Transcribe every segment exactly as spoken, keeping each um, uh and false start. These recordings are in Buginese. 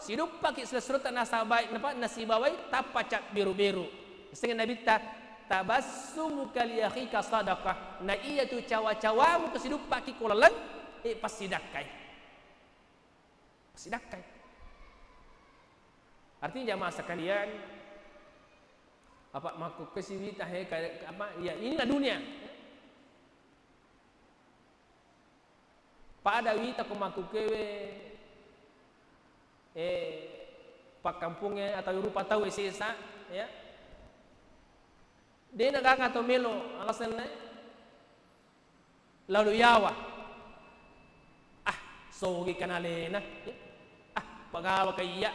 siduppaki silessuretta nasabawai, napa, nasibawai tappa cabberu-beru. Sengnge Nabitta, "Tabassumuka li akhika sadaqah." Na iyatu cawa-cawamu ko siduppaki ko laleng, eh, passidakkai. Passidakkai. Artinya jamaah sekalian, apa makkukku siwita he, ka-, apa, ya inilah dunia. Pada wita ko makkukkewe, eh, pakkampungnge atau rupa tau sesa, ya. De' na gaga to melo alasanna, lalu yawa. Ah, sogi kanalena. Ah, pagawa kaiya.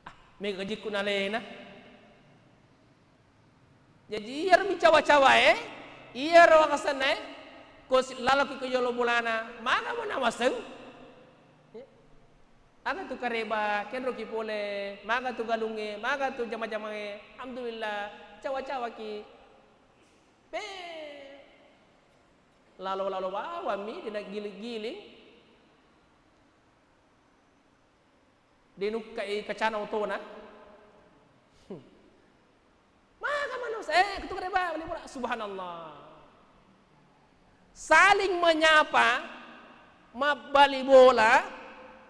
Ah, mega gajikku nalena. Jaji, iyaro mi cawa-cawae, iyaro wakasennae, ko si-, laloki ko yolo bolana, maga mo nawaseng? Aga tu kareba, kenroki pole, maga tu galungnge, maga tu jama-jamangnge, alhamdulillah, cawa-cawaki. Pe, lalo-lalo bawammi, dena giling-giling. Denukkai kacana otona. Maga manusia, eh, ketuk reba, bali bola. Subhanallah. Saling menyapa, mabbali bola,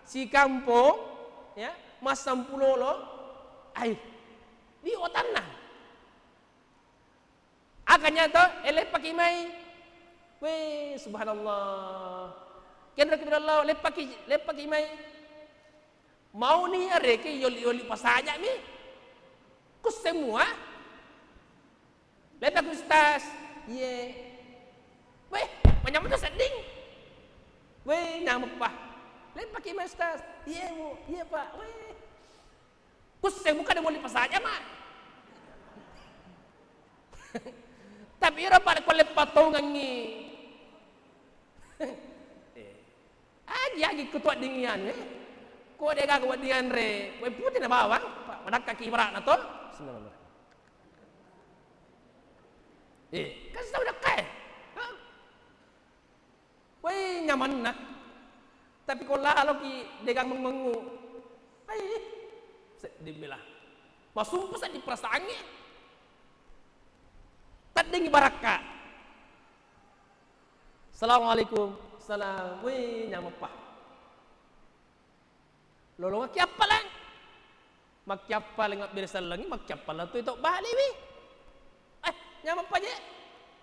sikampong, ya, massampulolo, ai, di otanna. Aga nyato, eh, leppaki mai. Weh, subhanallah. Kenro kibirallah, leppaki, leppaki mai. Mauni areke yoli-yoli pasajami. Kusse mua. Leppaki ustaz. Iye. Weh, manyameng tu sedding. Weh, nyameppa. Leppaki mai ustaz. Iye, Bu. Iye, Pak. Weh. Kusse muka de moli pasaja ma. Tapi ero pada ko leppa tongengngi. Eh. Agi-agi kutu weddingngi anu, eh. Ko de gaga wedding anre, wae pute na bawang, pa-, madakkaki ibaratna to. Bismillahirrahmanirrahim. Eh, kan sudah dakka, eh. Hah? Woi, nyamanna. Tapi ko laloki degang mengngu. Ai, seddi bela. Masumpu seddi perasaangnge. Teddingi barakka. Assalamualaikum. Salam. Woi, nyameppa. Lolongekki appalang. Makkiappalang abbere sellengngi, makkiappalang tu to baliwi. Eh, nyameng paje.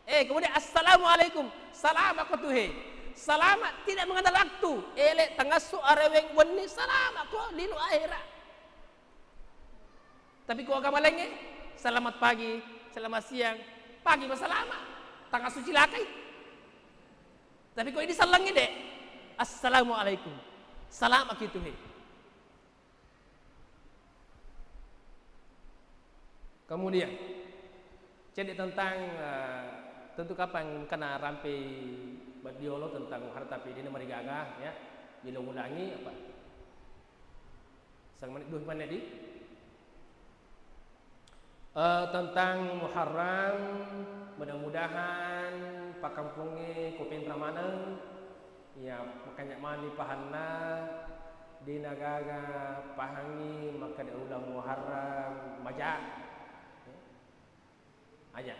Eh, kemudian, "Assalamualaikum." Salama ko tu he. Salama tidak mengenal waktu. Ele tangasso areweng wenni, salama ko lino akhirat. Tapi ko agama laingnge, "Selamat pagi, selamat siang, pagi ko salama." Tangasso cilakai. Tapi ko idi sellengngi de, "Assalamualaikum." Salama ki tu he. Kemudian, cedde tentang, eh, tentu kapang kena rampe baddiolo tentang harta, tapi dena marigaga, ya, diulang-ulangi apa? Sang menit, dua menit di? Eh, tentang Muharram, mudah-mudahan pakkampungnge ko Pinrang maneng, iya, makanja mani pahanna, dena gaga pahangngi makkeda uleng Muharram maja. Aja.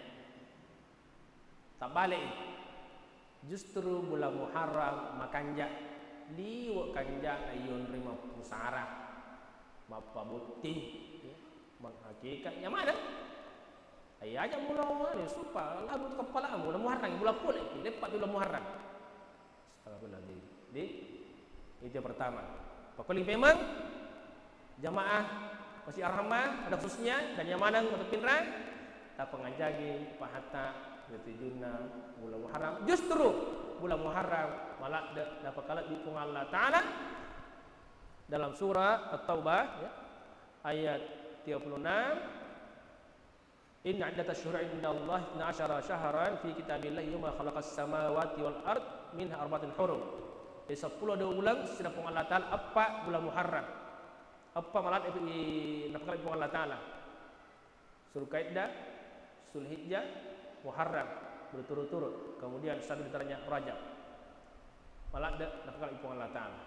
Tabbale'i. Justru bulan Muharram makanja, liwe' kanjana iyonroi mappusara, mappabotting, ya, manghakikat nyamaneng. Ai aja mula anu, supa labu tu keppalamu, bulan Muharram, bulan pole, leppa tu bulan Muharram. Astagfirullahaladzim. Jadi, itu yang pertama. Pakuling memang jamaah Masjid Ar-Rahmah pada khususnya dan nyamaneng untuk Pinrang, tapangajaji pahatta ri tujunna bulan Muharram. Justru bulan Muharram maladde napakalebbi Puang Allah Ta'ala dalam surah At-Taubah, ya, ayat tiga puluh enam, "Inna iddatasy syuhuri indallahi itsna asyara syahran fi kitabillahi yauma khalaqas samawati wal ard minha arba'atun hurum." Jadi seppulo dua uleng sina Puang Allah Ta'ala, eppa bulan Muharram. Eppa maladde napakalebbi Puang Allah Ta'ala. Zulkaidah, Zulhijjah, Muharram, berturut-turut. Kemudian satu di antaranya Rajab. Maladde napakalebbi Puang Allah Ta'ala.